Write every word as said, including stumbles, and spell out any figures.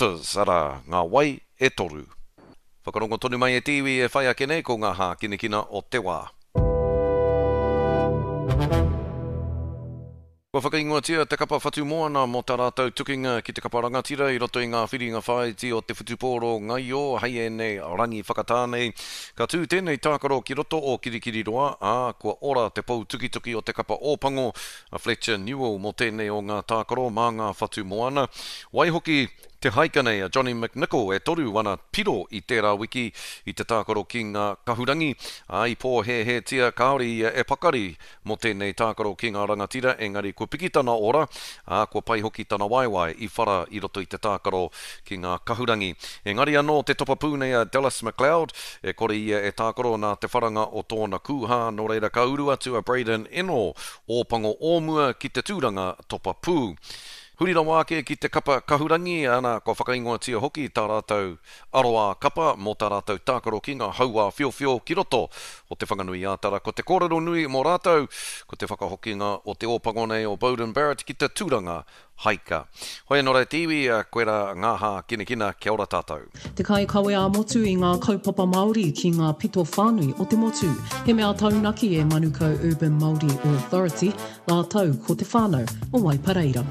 Waters, arā, ngā wai e toru. Whakarongo tonu mai e te iwi e whai ake nei ko ngā hākinakina o te wā. Kua whakaingoatia te kapa Whatumoana mō tā rātou tukinga ki te kapa rangatira i roto i ngā whiringa whāiti o te whutupōro ngaio hei ēnei rangi whakatā nei. Ka tū tēnei tākaro ki roto o Kirikiriroa, ā, kua ora te pou tukituki o te kapa Ōpango, a Fletcher Newell mō tēnei o ngā tākaro mā ngā Whatumoana. Waihoki, te haika nei a Johnny McNicholl e toru ana piro i tērā wiki i te tākaro ki ngā kahurangi, ā, i pōhēhētia kāore ia e pakari mō tēnei tākaro ki ngā rangatira, engari kua piki tana ora, ā, kua pai hoki tana waewae i whara i roto i te tākaro ki ngā kahurangi. Engari anō te topa pū nei a Dallas McLeod, e kore ia e tākaro nā te wharanga o tōna kūhā, nō reira ka uru atu a Braydon Ennor, Ōpango o mua ki te tūranga topa pū. Huri rawa ake ki te kapa kahurangi, ana, kua whakaingoatia hoki tā rātou aroā kapa mō tā rātou tākaro ki ngā hauā whiowhio ki roto o Te Whanganui-ā-Tara. Ko te kōrero nui mō rātou, ko te whakahokinga o te ōpango nei o Beauden Barrett ki te tūranga haika. Hoi anō rā te iwi, koirā ngā hākinakina, kia ora tātou. Te kaikawe ā-motu i ngā kaupapa Māori ki ngā pito whānui o te motu. He mea taunaki e Manukau Urban Māori Authority rātou ko te whānau o Waipareira.